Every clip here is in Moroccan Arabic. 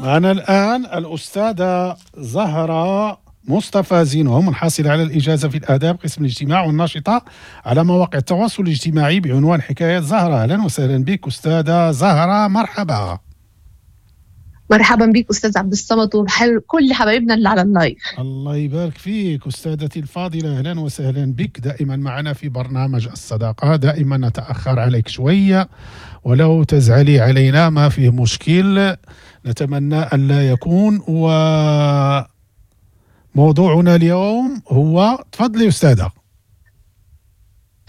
معنا الآن الأستاذة زهرة مصطفى زينهم، الحاصلة على الإجازة في الآداب قسم الاجتماع والناشطة على مواقع التواصل الاجتماعي بعنوان حكاية زهرة. أهلا وسهلا بك أستاذة زهرة، مرحبا. مرحبا بك أستاذ عبد الصمد وكل حبايبنا اللي على ال live. الله يبارك فيك أستاذتي الفاضلة، أهلا وسهلا بك. دائما معنا في برنامج الصداقة، دائما نتأخر عليك شوية ولو تزعلي علينا ما فيه مشكل، نتمنى أن لا يكون. وموضوعنا اليوم هو، تفضلي أستاذة.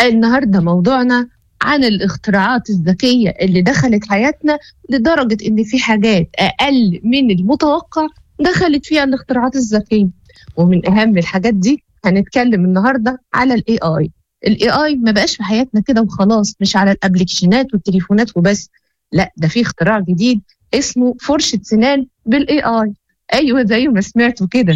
النهاردة موضوعنا عن الاختراعات الذكية اللي دخلت حياتنا لدرجة إن في حاجات أقل من المتوقع دخلت فيها الاختراعات الذكية. ومن أهم الحاجات دي هنتكلم النهاردة على ال AI. ال AI ما بقاش في حياتنا كده وخلاص، مش على الابليكيشنات والتليفونات وبس، لا ده في اختراع جديد اسمه فرشة سنان بال AI. أيوة زي ما سمعتوا كده،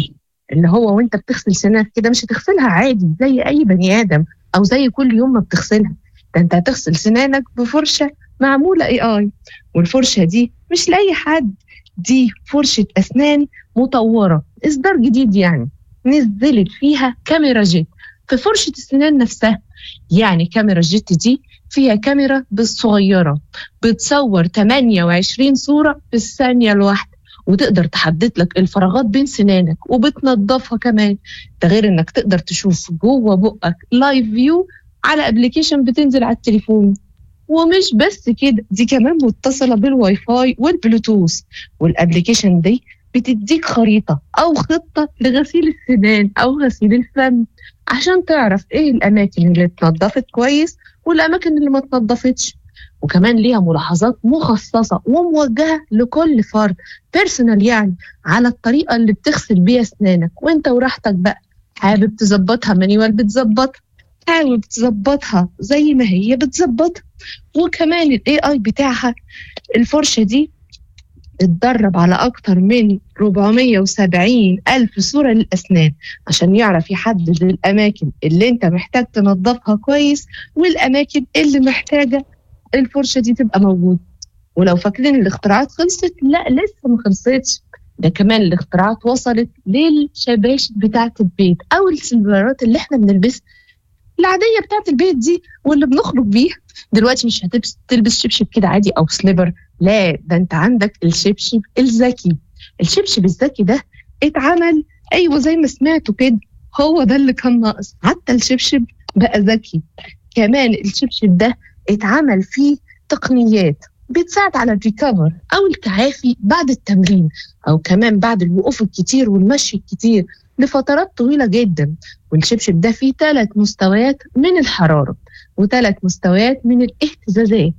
اللي هو وانت بتغسل سنانك كده مش هتغسلها عادي زي أي بني آدم أو زي كل يوم ما بتغسلها، ده انت هتغسل سنانك بفرشة معمولة AI. والفرشة دي مش لأي حد، دي فرشة أسنان مطورة إصدار جديد، يعني نزلت فيها كاميرا jet في فرشة السنان نفسها. يعني كاميرا jet دي فيها كاميرا بالصغيرة بتصور 28 صورة في الثانية الواحدة، وتقدر تحدد لك الفراغات بين سنانك وبتنظفها كمان. ده غير انك تقدر تشوف جوه بقك live view على application بتنزل على التليفون. ومش بس كده، دي كمان متصلة بالواي فاي والبلوتوث، وال application دي بتديك خريطة أو خطة لغسيل السنان أو غسيل الفم عشان تعرف إيه الأماكن اللي اتنضفت كويس والأماكن اللي ما اتنضفتش. وكمان ليها ملاحظات مخصصة وموجهة لكل فرد personal، يعني على الطريقة اللي بتغسل بيها أسنانك وانت وراحتك بقى. حابب تظبطها manual بتظبطها، حابب تظبطها زي ما هي بتظبطها. وكمان ال AI بتاعها الفرشة دي اتدرب على أكتر من 470 ألف صورة للأسنان عشان يعرف يحدد الأماكن اللي انت محتاج تنظفها كويس والأماكن اللي محتاجة الفرشة دي تبقى موجودة. ولو فاكرين الاختراعات خلصت، لا لسه ما خلصتش، ده كمان الاختراعات وصلت للشباشب بتاعة البيت أو السلبرات اللي احنا بنلبسها العادية بتاعة البيت دي واللي بنخرج بيها. دلوقتي مش هتلبس شبشب كده عادي أو slipper، لا ده انت عندك الشبشب الذكي. الشبشب الذكي ده اتعمل، أيوة زي ما سمعتوا كده، هو ده اللي كان ناقص، حتى الشبشب بقى ذكي. كمان الشبشب ده اتعمل فيه تقنيات بتساعد على ال recover أو التعافي بعد التمرين، أو كمان بعد الوقوف الكتير والمشي الكتير لفترات طويلة جدا. والشبشب ده فيه 3 مستويات من الحرارة و3 مستويات من الاهتزازات،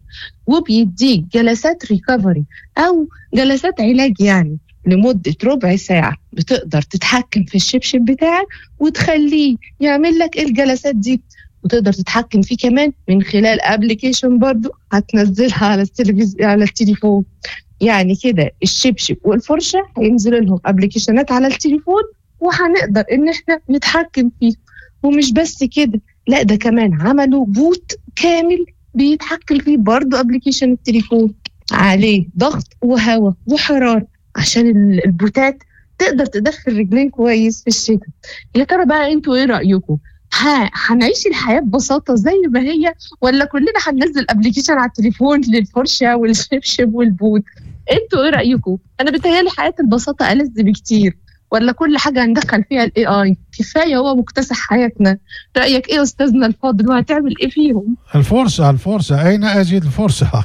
وبيديك جلسات recovery أو جلسات علاج يعني لمدة ربع ساعة. بتقدر تتحكم في الشبشب بتاعك وتخليه يعمل لك الجلسات دي، وتقدر تتحكم فيه كمان من خلال application برضو هتنزلها على التلفزيون على التليفون. يعني كده الشبشب والفرشة هينزلوا لهم application ات على التليفون وهنقدر ان احنا نتحكم فيه. ومش بس كده، لا ده كمان عملوا بوت كامل بيتحكم فيه برضو application التليفون، عليه ضغط وهواء وحرارة عشان البوتات تقدر تدخل رجلين كويس في الشتاء. يا ترى بقى انتوا ايه رأيكم؟ هنعيش الحياة ببساطة زي ما هي، ولا كلنا هننزل application على التليفون للفرشة والشبشب والبوت؟ انتوا ايه رأيكم؟ انا بتهيألي حياة البساطة ألذ بكتير، ولا كل حاجة هندخل فيها ال AI؟ كفاية هو مكتسح حياتنا. رأيك ايه أستاذنا الفاضل، وهتعمل ايه فيهم؟ الفرشة، الفرشة، أين أجد الفرشة؟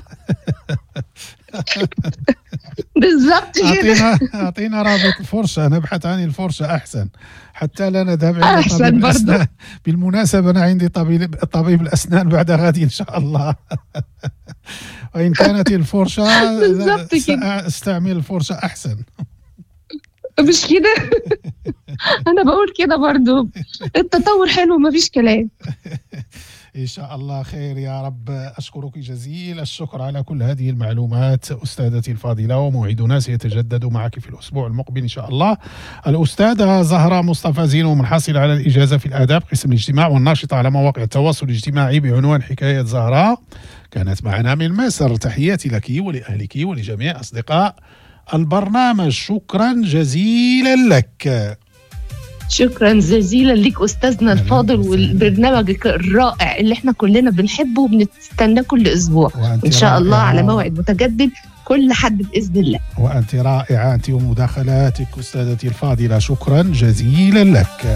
بالظبط كده. أعطينا رابط الفرشة، نبحث عن الفرشة أحسن حتى لا نذهب إلى أحسن طبيب برضو. الأسنان. بالمناسبة أنا عندي طبيب الأسنان بعد غد إن شاء الله. وإن كانت الفرشة بالظبط كده. سأستعمل الفرشة أحسن. مش كده؟ أنا بقول كده برضو، التطور حلو مفيش كلام. إن شاء الله خير يا رب. أشكرك جزيل الشكر على كل هذه المعلومات أستاذتي الفاضلة، وموعدنا سيتجدد معك في الأسبوع المقبل إن شاء الله. الأستاذة زهرة مصطفى زينو، منحصرة على الإجازة في الآداب قسم الاجتماع والناشطة على مواقع التواصل الاجتماعي بعنوان حكاية زهرة، كانت معنا من مصر. تحياتي لك ولأهلك ولجميع أصدقاء البرنامج. شكرا جزيلا لك. شكرا جزيلا لك استاذنا أهلاً الفاضل وسهلاً. والبرنامج الرائع اللي احنا كلنا بنحبه وبنستناه كل اسبوع. وأنت ان شاء الله على رائعة. موعد متجدد كل حد باذن الله. وأنت رائعة، أنت ومداخلاتك أستاذتي الفاضلة، شكرا جزيلا لك.